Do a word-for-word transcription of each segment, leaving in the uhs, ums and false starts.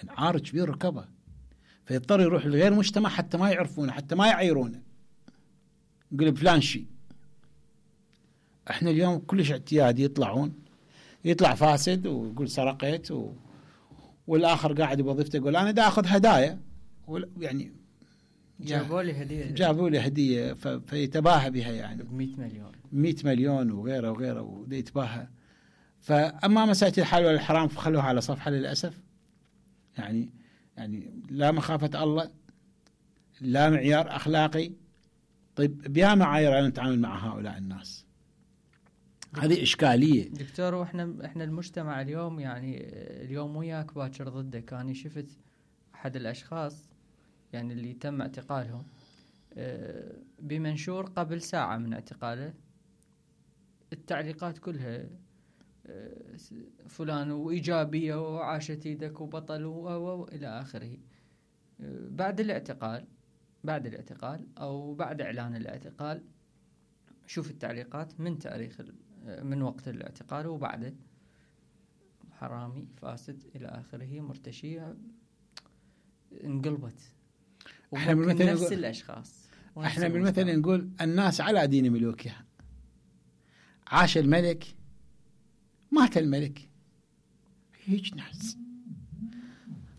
يعني عار كبير ركبه، فيضطر يروح لغير مجتمع حتى ما يعرفونه، حتى ما يعيرونه، يقول فلان شيء. احنا اليوم كلش اعتيادي، يطلعون يطلع فاسد ويقول سرقت و... والاخر قاعد بوظيفته يقول انا دا اخذ هدايا، يعني جابوا لي هديه جابوا لي هديه ف... فيتباهى بها يعني ب مئة مليون مئة مليون وغيره وغيره وده يتباهى. فاما مساله الحلال والحرام فخلوها على صفحه للاسف. يعني يعني لا مخافه الله، لا معيار اخلاقي. طيب بيا معايير أن نتعامل مع هؤلاء الناس؟ هذه إشكالية دكتور. وإحنا إحنا المجتمع اليوم، يعني اليوم وياك باكر ضدك. أنا شفت أحد الأشخاص يعني اللي تم اعتقالهم بمنشور قبل ساعة من اعتقاله، التعليقات كلها فلان وإيجابية وعاشت يدك وبطل وإلى آخره. بعد الاعتقال بعد الاعتقال أو بعد إعلان الاعتقال، شوف التعليقات من تاريخ من وقت الاعتقال وبعده: حرامي، فاسد، إلى آخره، مرتشية. انقلبت. احنا بالمثل نفس نقول الأشخاص. احنا بالمثل نقول الناس على دين ملوكها. عاش الملك، مات الملك. هيج ناس.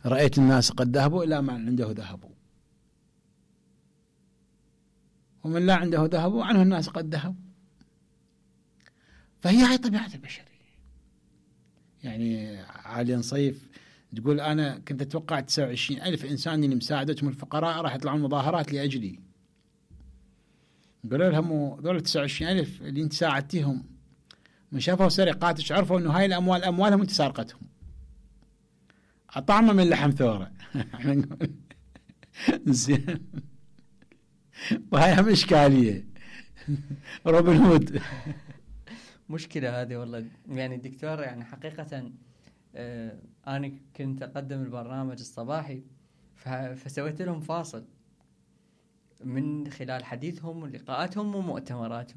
رأيت الناس قد ذهبوا إلى من عنده ذهبوا، ومن لا عنده ذهبوا عنه الناس قد ذهبوا. فهي هاي طبيعة البشرية. يعني عالي نصيف تقول أنا كنت أتوقع تسعة وعشرين ألف إنسان اللي مساعدتهم الفقراء راح يطلعون مظاهرات لأجلي. قالوا لهم دول تسعة وعشرين ألف اللي أنت ساعدتهم من شافوا سرقاتك عرفوا إنه هاي الأموال أموالهم أنت سارقتهم، أطعمة من لحم ثورة. زين. وهاي هم إشكالية. روبن هود. مشكلة هذه والله. يعني دكتور، يعني حقيقة آه أنا كنت أقدم البرنامج الصباحي، فسويت لهم فاصل من خلال حديثهم ولقاءاتهم ومؤتمراتهم.